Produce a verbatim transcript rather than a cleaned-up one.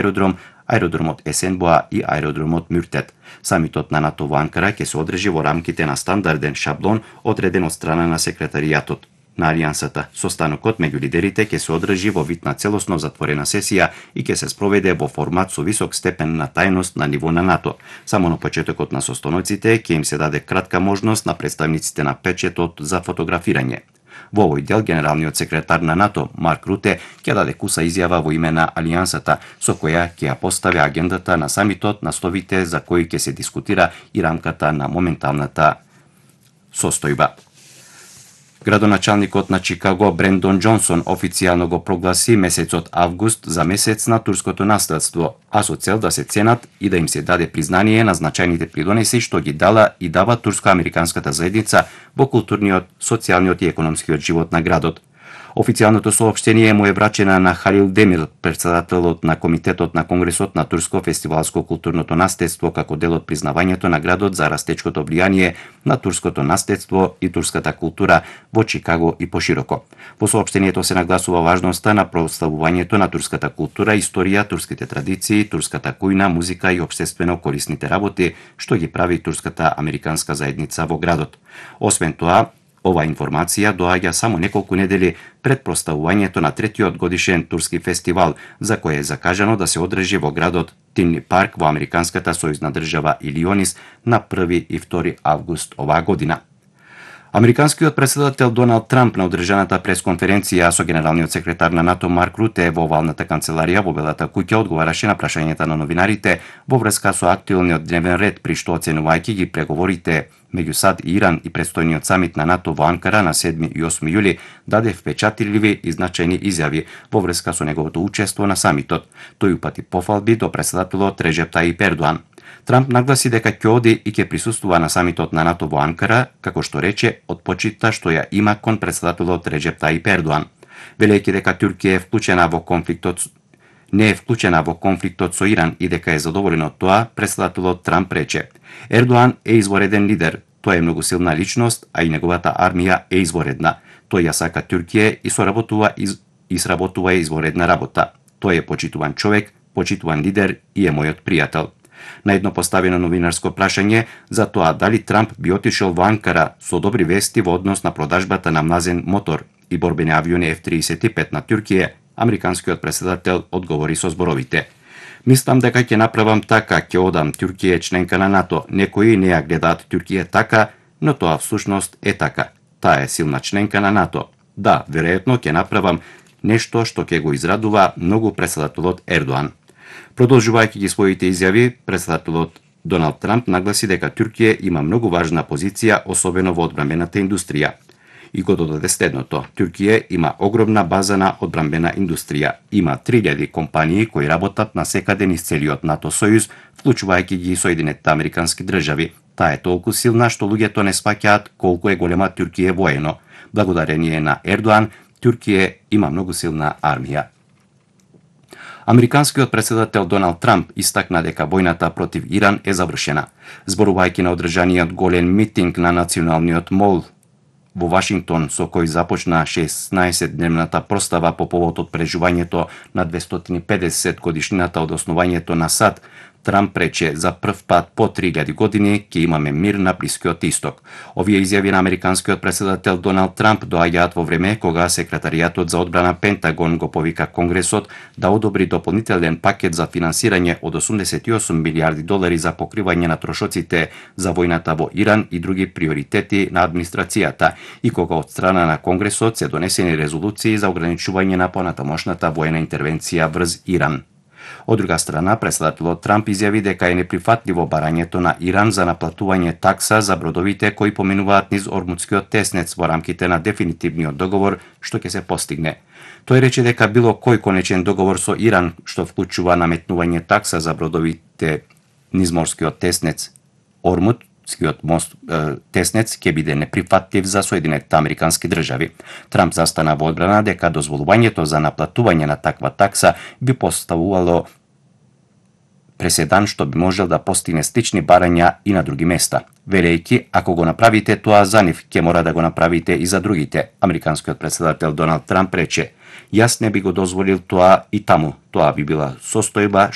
аеродром, аеродромот Есенбоа и аеродромот Мюртет. Самитот на НАТО во Анкара ќе се одржи во рамките на стандарден шаблон одреден од страна на секретаријатот на Алијансата. Состанокот меѓу лидерите ќе се одржи во вид на целосно затворена сесија и ќе се спроведе во формат со висок степен на тајност на ниво на НАТО. Само на почетокот на состаноците ќе им се даде кратка можност на представниците на печетот за фотографирање. Во овој дел генералниот секретар на НАТО Марк Руте ќе даде куса изјава во име на Алијансата, со која ќе ја постави агендата на самитот, насловите за кои ќе се дискутира и рамката на моменталната состојба. Градоначалникот на Чикаго Брендон Џонсон официјално го прогласи месецот август за месец на турското наследство, а со цел да се ценат и да им се даде признание на значајните придонеси што ги дала и дава турско-американската заедница во културниот, социјалниот и економскиот живот на градот. Официјалното соопштение му е врачена на Халил Демир, претседателот на Комитетот на Конгресот на Турско фестивалско културното наследство, како дел од признавањето на градот за растечкото влијание на турското наследство и турската култура во Чикаго и пошироко. Во соопштението се нагласува важноста на прославувањето на турската култура, историја, турските традиции, турската кујна, музика и општествено корисните работи, што ги прави турската американска заедница во градот. Освен тоа, ова информација доаѓа само неколку недели пред прославувањето на третиот годишен турски фестивал, за кој е закажано да се одржи во градот Тинли парк во американската сојузна држава Илионис на први и втори август оваа година. Американскиот претседател Доналд Трамп на одржаната пресконференција со генералниот секретар на НАТО Марк Руте во овалната канцеларија во Белата куќа одговараше на прашањата на новинарите во врска со актуелниот дневен ред, при што оценувајќи ги преговорите меѓу САД и Иран и предстојниот самит на НАТО во Анкара на седми и осми јули, даде впечатливи и значајни изјави во врска со неговото учество на самитот. Тој упати пофалби до претседателот Реджеп Тајип Ердоан. Трамп нагласи дека ќе оди и ќе присуствува на самитот на НАТО во Анкара, како што рече, од почита што ја има кон претседателот Реджеп Тајип Ердоан. Велејќи дека Туркија е вклучена во конфликтот не е вклучена во конфликтот со Иран и дека е задоволен од тоа, претседателот Трамп рече: Ердоан е извореден лидер, тој е многу силна личност, а и неговата армија е изворедна. Тој ја сака Туркија и соработува из... и сработува изворедна работа. Тој е почитуван човек, почитуван лидер и е мојот пријател. На едно поставено новинарско прашање за тоа дали Трамп би отишол во Анкара со добри вести во однос на продажбата на млазен мотор и борбени авиони Еф триесет и пет на Туркија, американскиот претседател одговори со зборовите: Мислам дека ќе направам така, ќе одам, Туркија е членка на НАТО, некои не ја гледаат Туркија така, но тоа всушност е така. Таа е силна членка на НАТО. Да, веројатно ќе направам нешто што ќе го израдува многу претседателот Ердоан. Продолжувајќи ги своите изјави, претседателот Доналд Трамп нагласи дека Туркија има многу важна позиција, особено во одбранбената индустрија. И го додаде следното: Туркија има огромна база на одбранбена индустрија. Има три илјади компании кои работат на секаде низ целиот НАТО сојуз, вклучувајќи ги Соединетите американски држави. Таа е толку силна што луѓето не спаќаат колку е голема Туркија воено. Благодарение на Ердоан, Туркија има многу силна армија. Американскиот претседател Доналд Трамп истакна дека војната против Иран е завршена. Зборувајќи на одржаниот голем митинг на Националниот мол во Вашингтон, со кој започна шеснаесетдневната простава по повод од преживувањето на двестоти и педесет годишнината од основањето на САД, Трамп рече: за прв пат по три илјади години ќе имаме мир на Блискиот исток. Овие изјави на американскиот претседател Доналд Трамп доаѓаат во време кога секретаријатот за одбрана Пентагон го повика Конгресот да одобри дополнителен пакет за финансирање од осумдесет и осум милијарди долари за покривање на трошоците за војната во Иран и други приоритети на администрацијата, и кога од страна на Конгресот се донесени резолуции за ограничување на понатамошната воена интервенција врз Иран. Од друга страна, претседателот Трамп изјави дека е неприфатливо барањето на Иран за наплатување такса за бродовите кои поминуваат низ Ормутскиот теснец во рамките на дефинитивниот договор што ќе се постигне. Тој рече дека било кој конечен договор со Иран што вклучува наметнување такса за бродовите низ Морскиот теснец Ормут, Скиот мост е, теснец ќе биде неприфатлив за Соединетите американски држави. Трамп застана во одбрана дека дозволувањето за наплатување на таква такса би поставувало преседан што би можел да постигне слични барања и на други места. Велејќи, ако го направите тоа за нив, ќе мора да го направите и за другите. Американскиот претседател Доналд Трамп рече: Јас не би го дозволил тоа и таму. Тоа би била состојба